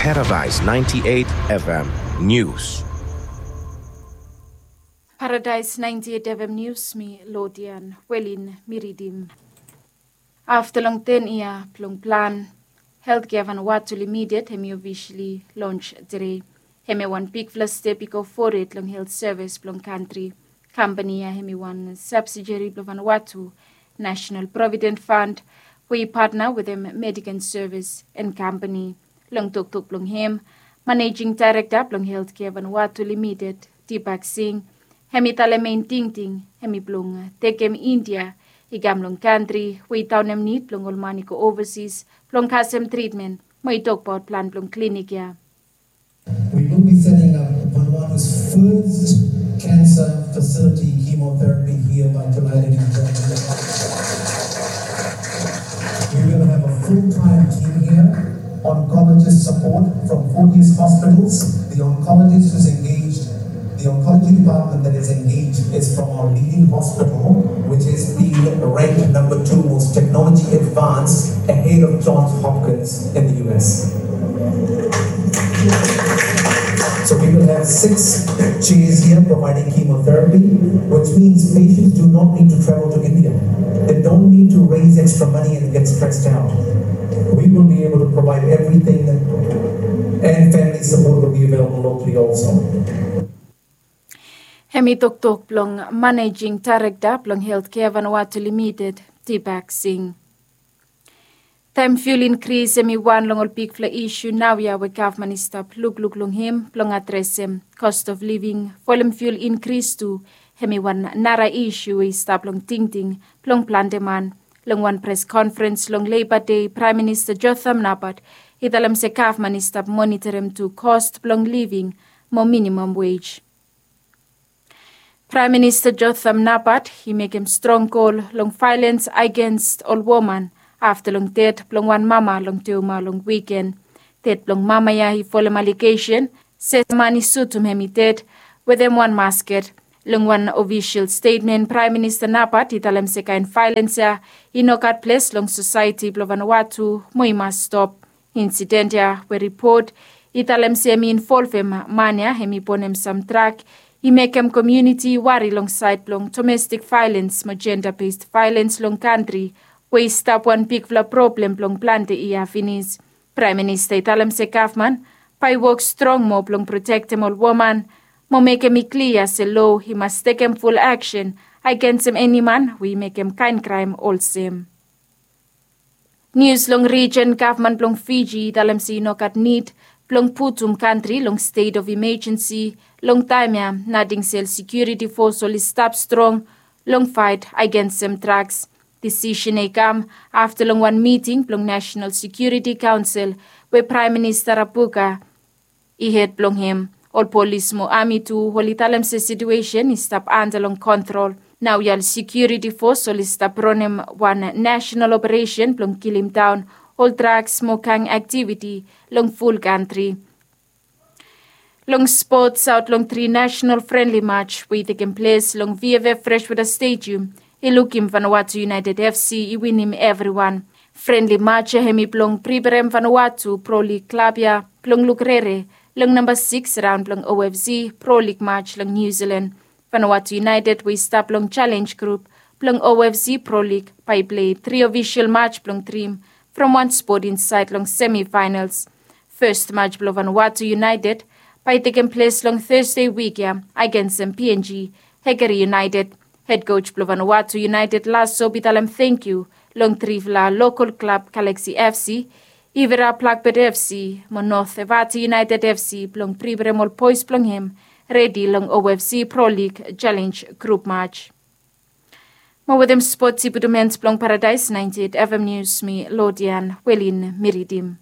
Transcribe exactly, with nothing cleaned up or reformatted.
Paradise ninety-eight F M News. Paradise ninety-eight F M News, mi Lodian Welin mi ridim. Afta long ten yia blong plan, Healthcare Vanuatu Limited hemi ofisali lons tede. Hemi wan bigfala step i go fored long helt sevis blong kantri. Kampani ya hemi wan sabsideri blong Vanuatu National Provident Fund we i patna wetem Medican Service and Company. Long toktok blong hem, Managing Director blong Healthcare Vanuatu Limited, Deepak Singh, hemi talem mein tingting hemi blong tekem India i kam long kantri we i daonem nid blong ol man i go ovasis blong kasem tritmen, mo i tokbaot plan blong klinik ya. We will be setting up Vanuatu's first cancer facility chemotherapy here by July twenty twenty. We will have a full-time team here, oncologist support from Fortis Hospitals. The oncologist who's engaged, the oncology department that is engaged is from our leading hospital, which is the ranked number two most technology advanced, ahead of Johns Hopkins in the U S. So we will have six chairs here providing chemotherapy, which means patients do not need to travel to India. They don't need to raise extra money and get stressed out. We will be able to provide everything, and family support will be available locally also. Hemi toktok blong Managing Director blong Healthcare Vanuatu Limited, Deepak Singh. Taem fuel inkris hemi wan long ol bigfala isu naoia we gavman i stap lukluk long hem blong adresem cost of living, folem fuel inkris tu, hemi wan nara isu we i stap long tingting blong plante man. Long wan pres konferens long Leiba Dei, Praem Minista Jotham Napat i talem se gavman i stap monitorem tu cost blong living mo minimum wage. Praem Minista Jotham Napat i mekem strong kol long vaelens agens ol woman afta long ded blong wan mama long Teuma long wiken. Ded blong mama ya i folem alegesen se man i sutum hem i ded wetem wan masket. Long wan ofisol stetmen, Praem Minista Napat i talem se kaen vaelens ya i no gat ples long sosaeti blong Vanuatu mo i mas stop. Insiden ya we ripot i talem se hemi involvem man ya hemi bonem sam drak i mekem komuniti i wari long saed blong domestik vaelens mo jenda bes vaelens long kantri we i stap wan bigfala problem blong plante yia finis. Praem Minista i talem se gavman bae i wok strong moa blong protektem ol woman mo mekem i klia se loa i mas tekem ful aksen agensem eni man we i mekem kaen kraem olsem. Nius long rijen, gavman blong Fiji i talem se i no gat nid blong putum kantri long stet of imejensi long taem ya, nating se ol sekiuriti fos oli stap strong long faet agensem draks. Disisen ya i kam afta long wan miting blong Nasenal Sekiuriti Kaonsel we Praem Minista Rabuka i hed blong hem. Ol polis mo ami tu oli talem se situesen i stap anda long kontrol. Naoia ol sekiuriti fos oli stap ranem wan nasenal operesen blong kilimdaon ol draks mo gang aktiviti long ful kantri. Long spots, aot long tri nasenal frenli maj we i tekem ples long VFF Freshwater Stadium, i lukim Vanuatu United FC i winim evriwan. Frenli maj ya hemi blong priperem Vanuatu Pro League klab ya blong luk rere long namba sikis raon blong OFC Pro League maj long Niu Silan. Vanuatu United we i stap long Challenge Group blong OFC Pro League bae i plei tri ofisol maj blong drim from wan spot insaed long semifaenals. Fes maj blong Vanuatu United bae i tekem ples long Tøsde wik ya agensem PNG Hekeri United. Hed koj blong Vanuatu United, Lasso, i talem tangkiu long trifala lokol klab, Galaxy FC, Ivera Blackbird FC mo North Evate United FC, blong priperem ol boes blong hem redi long OFC Pro League Challenge Group maj. Mo wetem spots i putum en blong Paradaes naenti eit FM Nius, mi Lodian Welin mi ridim.